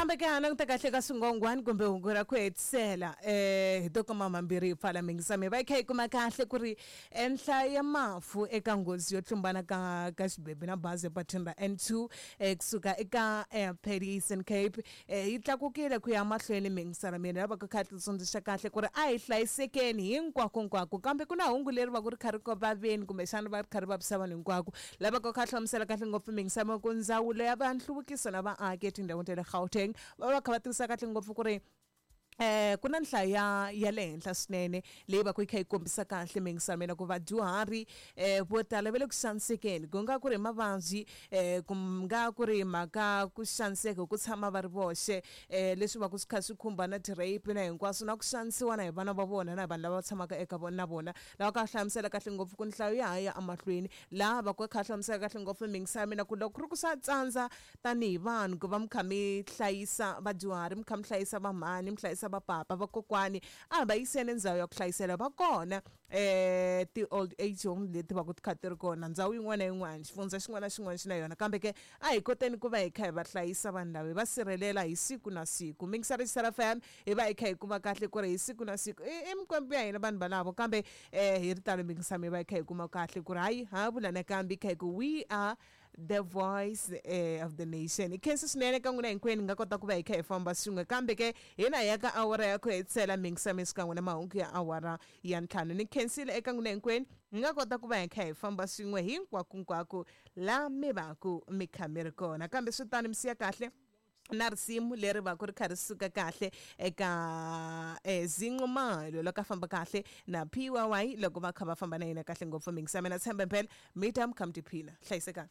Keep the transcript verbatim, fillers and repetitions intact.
Kambe ke ha languta kahle ka swingongwani kumbe hungu ra ku hetisela um hi to kuma mambirhi hi pfala mingisami va yi kha yi kuma kahle ku ri eh, nhlayo ya mafu eka nghozi yo tlumbana ka ka xibebe na bazi epatwini ra N two eh, kusuka eka eh, Pedi Eastern Cape eh, yi tlakukile ku ya mahlweni mingisana mina lava ku kha tsundzuxa kahle ku ri a hi hlayisekeni hinkwakonkwako kambe ku na hungu leri va ku ri kha ri vaveni kumbexana va ri kha ri vavisa vanhu hinkwako lava ku kha hlamusela kahle ngopfu mingisama ku ndzawulo ya va nhluvukiso na vaaki etindhawini ta le Gauteng va va kha va tivisa kahle ngopfu ku ri eh ku na nhlayo ya ya le henhla swinene leyi va ku yi kha yi kombisa kahle mingisamela ku vadyuhari eh vo tala va le ku xanisekeni ku nga ku ri mavabyi eh ku nga ku ri mhaka ku xaniseka hi ku tshama va ri voxe eh leswi va ku swi kha swi khumba na ti-rape na hinkwaswo na ku xanisiwa na hi vana va vona na hi vanhu lava tshamaka eka vona na vona lava ka hlamusela kahle ngopfu ku nhlayo ya ha ya emahlweni laha va ku kha hlamusela kahle ngopfu mingisamela ku loko ku ri ku swa tsandza tanihi vanhu ku va mi kha mi hlayisa vadyuhari mi kha mi hlayisa vamhani mi hlayisa vapapa vakokwani a va yiseni ndhawu ya ku hlayisela va kona eh ti-old age home leti va ku ti kha ti ri kona ndhawu yin'wana na yin'wana xifundza xin'wana na xin'wana xi na yona kambe ke a hi koteni ku va hi kha hi va hlayisa vanhu lava hi va sirhelela hi siku na siku mingisari F M hi va hi kha hi kuma kahle ku ri hi siku na siku i i mikwembu ya hina vanhu valavo kambe eh hi ri talo mingisami hi va hi kha hi kuma kahle ku ri hayi ha vula nakambe hi kha hi ku we are the voice eh, of the nation. I khensa swinene ka n'wina hinkwenu hi nga kota ku va hi kha hi famba swin'we kambe ke hina hi ya ka awara ya ku hetisela mingisami xikan'we na mahungu ya awara ya ntlhanu ni khensile eka n'wina hinkwenu hi nga kota ku va hi kha hi famba swin'we hinkwakonkwako laha mi va ku mi kha mi ri kona kambe swi tani mi siya kahle na risimu leri va ku ri kha ri suka kahle eka eh, Zinqumalo loko a famba kahle na P Y Y loko va kha va famba na yena kahle ngopfu mingisami na tshemba mpela mi ta mi kha mi tiphina hlayisekani.